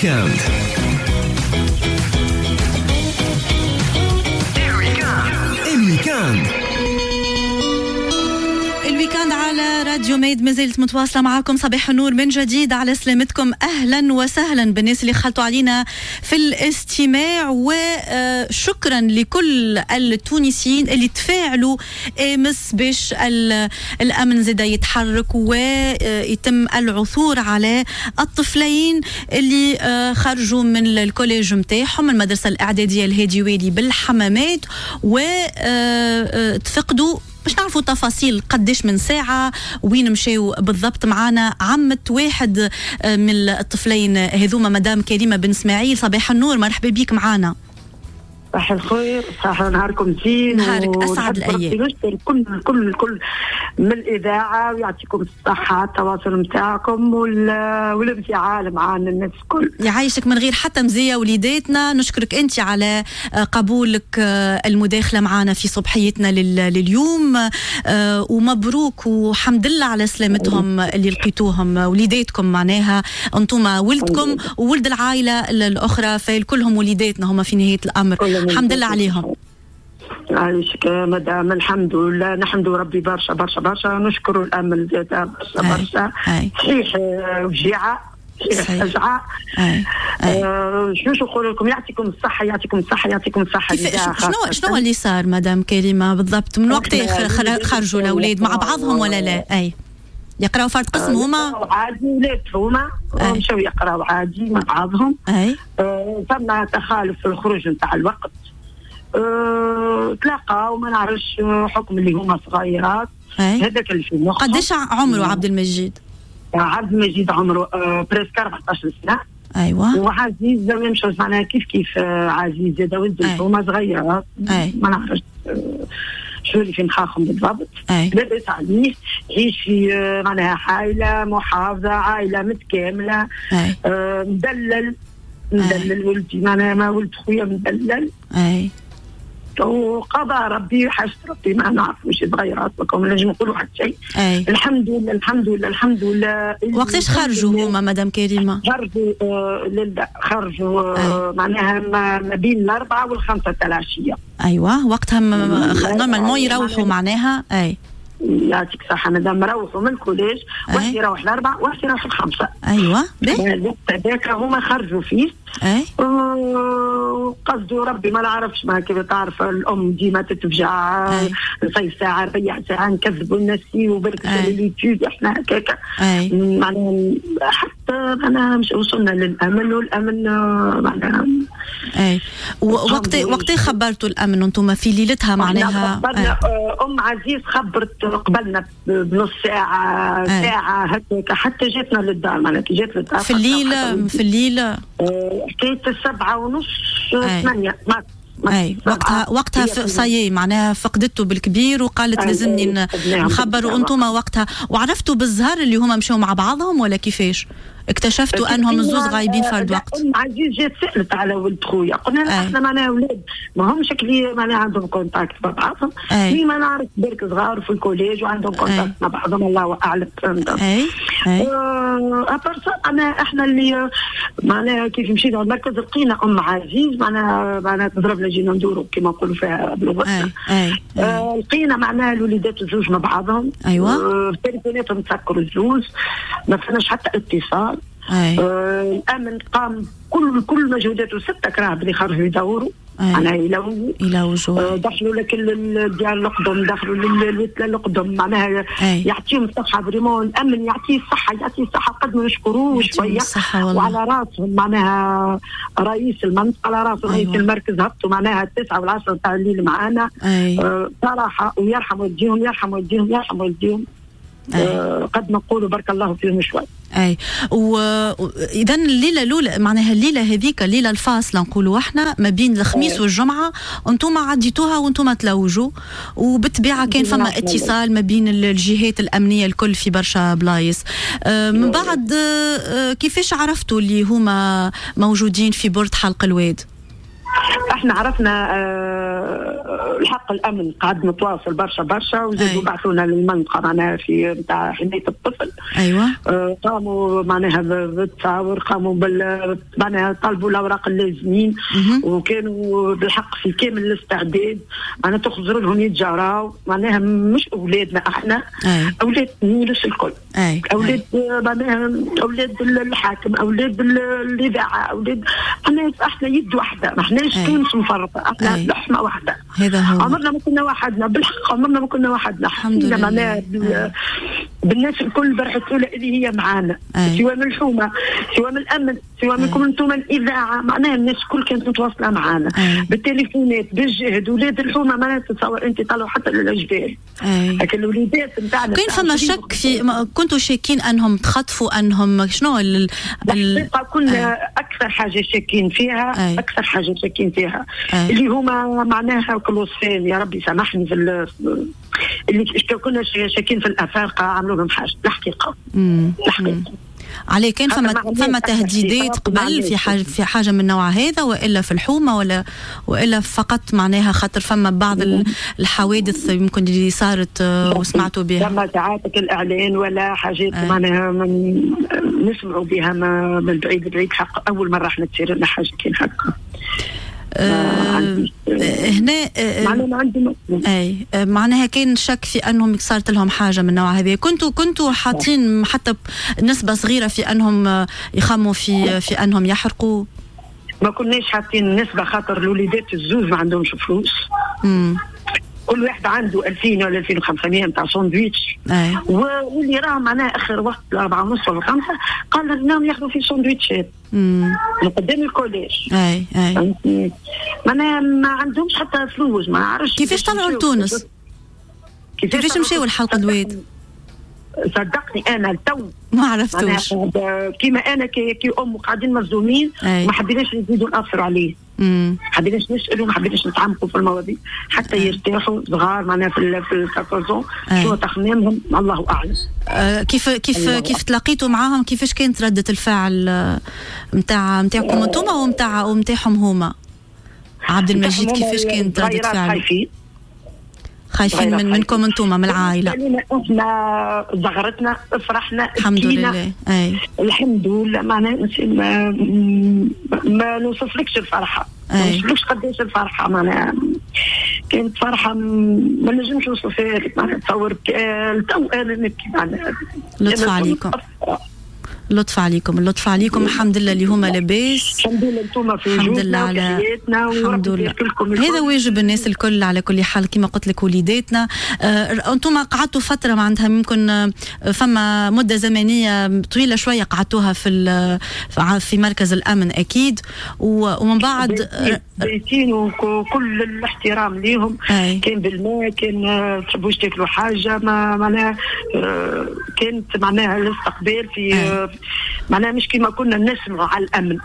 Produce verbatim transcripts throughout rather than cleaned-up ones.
week-end. ال week-end ال week-end على راديو ميد ما زالت متواصلة معاكم. صباح النور من جديد، على سلامتكم. أهلا وسهلا بالناس اللي خلطوا علينا في الاستماع، وشكرا لكل التونسيين اللي تفاعلوا امس باش الأمن زاد يتحرك ويتم العثور على الطفلين اللي خرجوا من ال collège متاعهم، من المدرسة الإعدادية الهادي والي بالحمامات، وتفقدوا. باش نعرفوا تفاصيل قديش من ساعة وين مشاو بالضبط، معانا عمة واحد من الطفلين هذوما، مدام كريمة بن اسماعيل. صباح النور، مرحبا بيك معانا. صباح الخير، صباح نهاركم زين، نهارك اسعد الايام. نشكر كل كل كل من الاذاعة، ويعطيكم الصحة التواصل نتاعكم والانفعال معنا الناس الكل. يعيشك من غير حتى مزية وليداتنا. نشكرك انت على قبولك المداخلة معنا في صبحيتنا لليوم، ومبروك وحمد لله على سلامتهم اللي لقيتوهم وليداتكم، معناها انتم ولدكم وولد العائلة الاخرى، فالكلهم وليداتنا هما في نهاية الامر. الحمد لله عليهم. عايشك مدام، الحمد لله، نحمد ربي برشا برشا برشا، نشكر الامل زاد برشا برشا. صحيح وجيعه، صحيح فجعه. آه شنو نقول لكم، يعطيكم الصحة يعطيكم الصحة يعطيكم الصحة. شنو شنو اللي صار مدام كريمة بالضبط؟ من وقت خرجوا الاولاد مع بعضهم ولا لا؟ اي يقراوا فرد قسم هما؟ عادي، ولاد هما مشاو يقراوا عادي مع بعضهم. اي آه ثم تخالف في الخروج نتاع الوقت، أه، تلاقاو ما نعرفش حكم اللي هما صغيرات. هذاك اللي في مخهم. قداش عمره عبد المجيد؟ عبد المجيد عمره أه presque أربعطاش سنة. ايوه. وعزيز même chose، معناها كيف كيف عزيز زاد ولد هما صغيرات، ما نعرفش شو اللي في مخاخهم بالضبط. لاباس عليه، يعيش في معناها عائلة محافظة، عائلة متكاملة. أه مدلل مدلل ولدي، معناها ما ولد خويا مدلل. اي وقضى ربي حاجة ربي، ما نعرفوش صغيرات وكم نجم نقولوا حتى شيء. الحمد لله الحمد لله الحمد لله. وقتاش خرجوا هما مدام كريمة؟ خرجوا آه لله خرجوا آه معناها ما بين الأربعة والخمسة تاع العشية. أيوة، وقتها normalement يروحوا معناها. أي يعطيك الصحة مدام، روحوا من ال collège، واحد يروح الأربعة واحد يروح الخمسة. أيوة الوقت هذاك هما خرجوا فيه. أي قصدوا ربي ما نعرفش، ما كيف تعرف الأم ديما تتفجع، نصيف ساعة ربيع ساعة نكذبوا الناس وبرك اليوتيوب احنا هكاك معناها، حتى معناها مش وصلنا للأمن، والأمن معناها. أي وقت وقت خبرتوا الأمن وانتم في ليلتها معناها؟ خبرنا أم عزيز خبرت قبلنا بنص ساعة. أي. ساعة هكاك حتى جاتنا للدار، معناها كي جات للدار في الليل. في الليل حكاية السبعة ونص ثمانية. أي وقتها وقتها صايي معناها فقدته بالكبير وقالت لازمني نخبر. وانتم وقتها وعرفتوا بالزهر اللي هما مشوا مع بعضهم ولا كيفاش؟ اكتشفتوا انهم الزوز غايبين فرد وقت؟ ام عزيز جات سالت على ولد خويا، قلنا لها احنا معناها اولاد ما همش شكلي معناها عندهم contact مع بعضهم، mais ما نعرف بالك صغار في ال collège وعندهم contact مع بعضهم، الله اعلم. فهمت؟ اي اي à part انا احنا اللي معناها كيف مشينا للمركز لقينا ام عزيز معناها معناها تضربنا جينا ندوروا كما نقولوا فيها بلغتنا. لقينا معناها الوليدات الزوج مع بعضهم. ايوه. تليفوناتهم تسكروا الزوز، ما فماش حتى اتصال. آه الامن قام كل كل مجهوداته، ستة كراهب اللي خرجوا يدوروا معناها يلوجوا يلوجوا آه دخلوا لك الديار القدم، دخلوا للوتله القدم، معناها يعطيهم الصحة vraiment. الامن يعطيه الصحة يعطيه الصحة قد ما نشكروه شوية، وعلى راسهم معناها رئيس المنطقة، على راسهم رئيس المركز، هبطوا معناها التسعة والعشرة تاع الليل معانا. آه صراحة، ويرحم والديهم يرحم والديهم يرحم والديهم. آه قد ما نقولوا بارك الله فيهم شوي. اي واذا الليلة الاولى معناها الليلة هذيك الليلة الفاصلة نقولوا احنا ما بين الخميس أي. والجمعة انتم عديتوها وانتم تلوجوا، وبالطبيعه كان فما اتصال ما بين الجهات الامنية الكل في برشا بلايص. آه من بعد آه كيفاش عرفتوا اللي هما موجودين في برد حلق الواد؟ احنا عرفنا آه الحق الامن قعد متواصل برشا برشا، وزادوا بعثونا للمنطقة معناها في نتاع حماية الطفل. ايوه آه قاموا معناها بالتصاور، قاموا بال معناها طلبوا الاوراق اللازمين، وكانوا بالحق في كامل الاستعداد. معناها تخزر لهم يتجاراو، معناها مش اولادنا احنا، أي. اولاد الناس الكل، أي. اولاد معناها اولاد الحاكم، اولاد الاذاعة، اولاد احنا احنا يد واحدة، ما احناش تونس مفرقه، احنا أي. لحمه واحدة. هذا هو، عمرنا ما كنا وحدنا بالحق، عمرنا ما كنا وحدنا. الحمد لله معناها بالناس الكل برحت الاولى اللي هي معانا، سواء من الحومه، سواء من الامن، سواء منكم انتم الاذاعة، معناها الناس الكل كانت متواصلة معانا بالتليفونات، بالجهد. ولاد الحومه معناها تتصور انت طلعوا حتى للجبال، لكن الوليدات نتاعنا كاين فما شك في، كنتوا شاكين انهم تخطفوا، انهم شنو ال... الحقيقة كنا أي. اكثر حاجة شاكين فيها، أي. اكثر حاجة شاكين فيها أي. اللي هما معناها كلوسين، يا ربي سامحني في ال... اللي كنا شاكين في الافارقة عملوا لهم حاجة الحقيقة. الحقيقة عليه كان فما فما تهديدات قبل في حاجة في حاجة من النوع هذا، والا في الحومه، ولا والا فقط معناها خاطر فما بعض الحوادث يمكن اللي صارت وسمعتوا بها؟ فما ساعات الاعلان ولا حاجات آه. معناها نسمعوا بها من بعيد لبعيد. حق اول مرة احنا تصير لنا حاجة كي هكا. أه هنا معناها عندي اي معناها كان شك في انهم صارت لهم حاجة من النوع هذا. كنتوا كنتوا حاطين حتى نسبه صغيرة في انهم يخموا في في انهم يحرقوا؟ ما كناش حاطين نسبه، خاطر الوليدات الزوز ما عندهمش فلوس. امم كل واحد عنده ألفين ولا ألفين وخمسمية نتاع ساندويتش، واللي راه معناها اخر وقت الأربعة ونص ولا خمسة قال انهم ياخذوا في ساندويتشات من قدام ال collège. اي اي معناها ما عندهمش حتى فلوس، ما عرفش كيفاش طلعوا لتونس، كيفاش مشاو الحلقة الواد. صدقني انا التو ما عرفتوش، كيما انا كي, كي ام قاعدين مصدومين، ما حبيناش نزيدوا ناثروا عليه، ما حبيناش نسالوا، ما حبيناش نتعمقوا في المواضيع حتى يرتاحوا صغار معناها في في أربعطاش شو تخمامهم الله اعلم. أه كيف كيف كيف تلاقيتوا معاهم؟ كيفاش كانت ردة الفعل نتاع نتاعكم انتم ومتاع ومتاعهم هما؟ عبد المجيد كيفاش كانت ردة فعل؟ خايفين خايفين من منكم انتم من العائلة. احنا زغرتنا فرحنا الحمد لله. اي الحمد لله معناها ما, ما نوصفلكش الفرحة، ما نوصفلكش قداش الفرحة، معناها كانت فرحه ما نجمش نوصفها لك، معناها تصور تو انا نبكي معناها. لطف عليكم، اللطف عليكم، اللطف عليكم. الحمد لله اللي هما لاباس، الحمد لله انتم في وجودنا وفي حياتنا، الحمد لله. هذا واجب الناس الكل على كل حال، كما قلت لك وليداتنا. آه، انتم قعدتوا فترة معناتها ممكن فما مده زمنية طويلة شوية قعدتوها في في مركز الامن اكيد، ومن بعد بيتين وكل الاحترام ليهم. أي. كان بالماء، كان تحبوش تاكلوا حاجة، ما معناها كانت معناها الاستقبال في أي. معناها مش كما كنا نسمعوا على الامن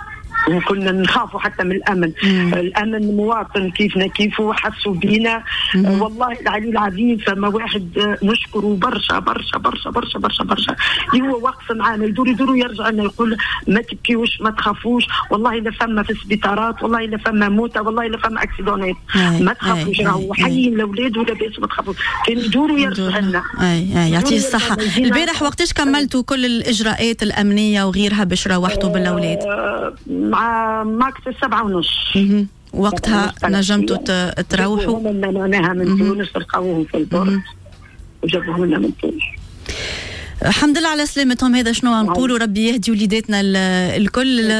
وكنا نخافوا حتى من الامن. مم. الامن مواطن كيفنا كيفه، حسوا بينا. مم. والله العلي العظيم فما واحد نشكره برشا برشا برشا برشا برشا برشا اللي هو واقف معانا، يدور يدور ويرجع لنا يقول ما تبكيوش ما تخافوش، والله لا فما في السبيطارات، والله لا فما موتى، والله لا فما accident ات، ما تخافوش، راهو حيين الاولاد ولاباس ما تخافوش. كان يدور ويرجع لنا. اي اي يعطيه الصحة. البارح وقتاش كملتوا كل الاجراءات الامنية وغيرها باش روحتوا بالاولاد؟ مع max السبعة ونص وقتها نجمتوا تروحوا؟ معناها من تونس لقاوهم في ال port وجابوهم لنا من تونس. الحمد لله على سلامتهم. هذا شنو نقولوا، ربي يهدي وليداتنا الكل.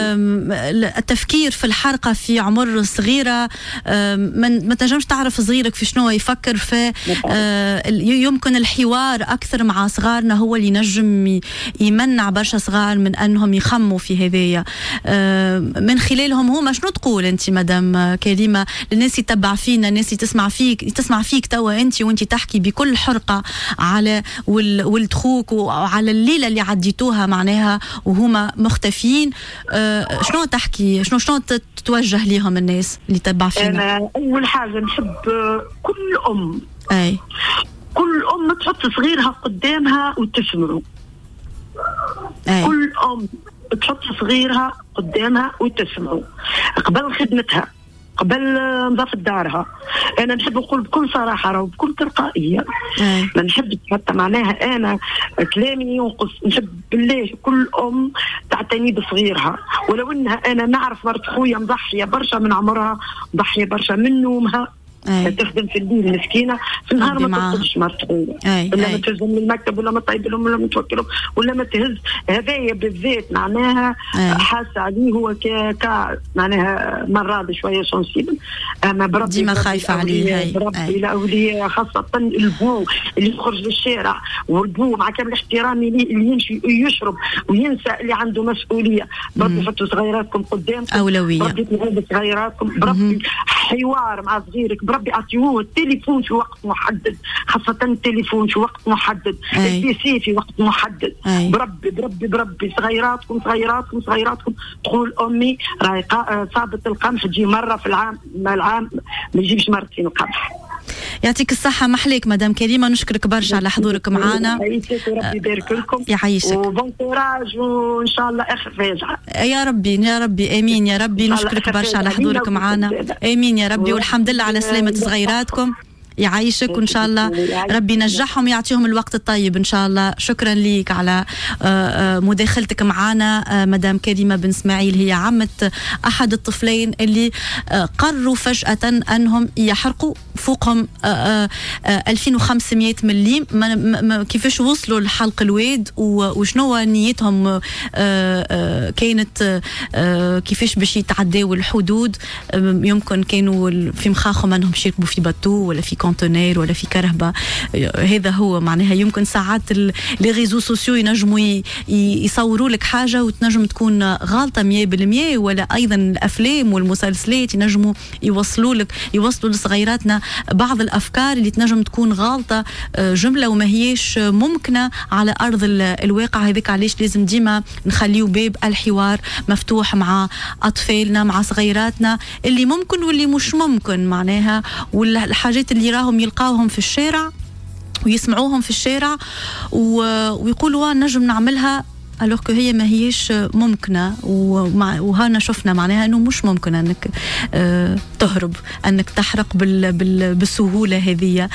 التفكير في الحرقة في عمر صغيرة، ما تنجمش تعرف صغيرك في شنو يفكر، في يمكن الحوار اكثر مع صغارنا هو اللي نجم يمنع برشا صغار من انهم يخموا في هذايا من خلالهم هما. شنو تقول انت مدام كريمة للناس يتبع فينا، الناس تسمع فيك تسمع فيك توا انت وانت تحكي بكل حرقه على ولد خوك وعلى الليلة اللي عديتوها معناها وهما مختفيين، أه شنو تحكي، شنو شنو تتوجه ليهم الناس اللي تبع فينا؟ أنا أول حاجة نحب كل أم، أي كل أم تحط صغيرها قدامها وتسمعه. أي. كل أم تحط صغيرها قدامها وتسمعه قبل خدمتها، قبل نظافة دارها. انا نحب نقول بكل صراحة راهو بكل تلقائية، ما نحبش حتى معناها انا كلامي ينقص، نحب بالله كل ام تعتني بصغيرها، ولو انها انا نعرف مرت خويا مضحيه برشا من عمرها، مضحيه برشا من نومها، أي. تخدم في الليل مسكينه، في النهار ما تخرجش مرت خويا، ولا ما تهزهم من المكتب، ولا ما طيب لهم، ولا ما توكلهم، ولا ما تهز. هذايا بالذات معناها حاسه عليه هو ك ك معناها مرض شوية sensible، اما بربي ديما خايفة عليه. بربي الاولياء خاصة البو اللي يخرج للشارع، والبو مع كامل احترامي ليه اللي يمشي يشرب وينسى اللي عنده مسؤولية. بربي حطوا صغيراتكم قدامكم، اولوية، بربي تلعبوا صغيراتكم، بربي حوار مع صغيرك، بربي اعطيوه التليفون في وقت محدد، خاصة التليفون في وقت محدد، ال PC في وقت محدد. أي. بربي بربي بربي صغيراتكم صغيراتكم صغيراتكم تقول امي راهي صابت القمح تجي مرة في العام، ما العام ما يجيبش مرتين القمح. يعطيك الصحة، محليك مدام كريمة، نشكرك برشا على حضورك معنا. يعيشك وربي يبارك لكم. يعيشك و bon courage، وإن شاء الله آخر فاجعة يا ربي، يا ربي آمين يا ربي. نشكرك برشا على حضورك معنا، آمين يا ربي، والحمد لله على سلامة صغيراتكم. يعيشك، وإن شاء الله ربي ينجحهم ويعطيهم الوقت الطيب إن شاء الله. شكرا ليك على مداخلتك معنا مدام كريمة بن اسماعيل، هي عمة أحد الطفلين اللي قرروا فجأة أنهم يحرقوا فوقهم ألفين وخمسمية مليم. كيفاش وصلوا لحلق الواد وشنو نيتهم كانت، كيفاش باش يتعداو الحدود؟ يمكن كانوا في مخاخهم أنهم يركبوا في bateau ولا في conteneur ولا في كرهبة. هذا هو معناها يمكن ساعات les réseaux sociaux ينجموا يصوروا لك حاجة وتنجم تكون غالطة مية بالمية، ولا أيضا الأفلام والمسلسلات ينجموا يوصلوا لك، يوصلوا لصغيراتنا بعض الأفكار اللي تنجم تكون غالطة جملة وما هيش ممكنة على أرض الواقع. هذاك علاش لازم ديما نخليو باب الحوار مفتوح مع أطفالنا، مع صغيراتنا، اللي ممكن واللي مش ممكن معناها، والحاجات اللي راهم يلقاوهم في الشارع ويسمعوهم في الشارع ويقولوا نجم نعملها، alors que هي ما هيش ممكنة. وهنا شفنا معناها أنه مش ممكن أنك تهرب، أنك تحرق بالسهولة هذه.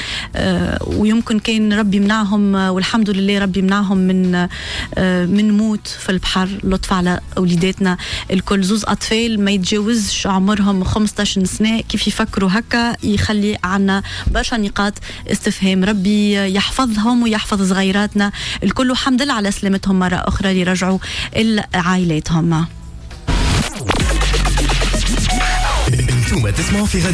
ويمكن كان ربي منعهم، والحمد لله ربي منعهم من من موت في البحر. لطف على أوليداتنا الكل، زوز أطفال ما يتجاوزش عمرهم خمسة عشر سنة، كيف يفكروا هكا يخلي عنا برشا نقاط استفهام. ربي يحفظهم ويحفظ صغيراتنا الكل، والحمد لله على سلامتهم مرة أخرى اللي رجعوا لعائلاتهم. انتم تسمعوا في راديو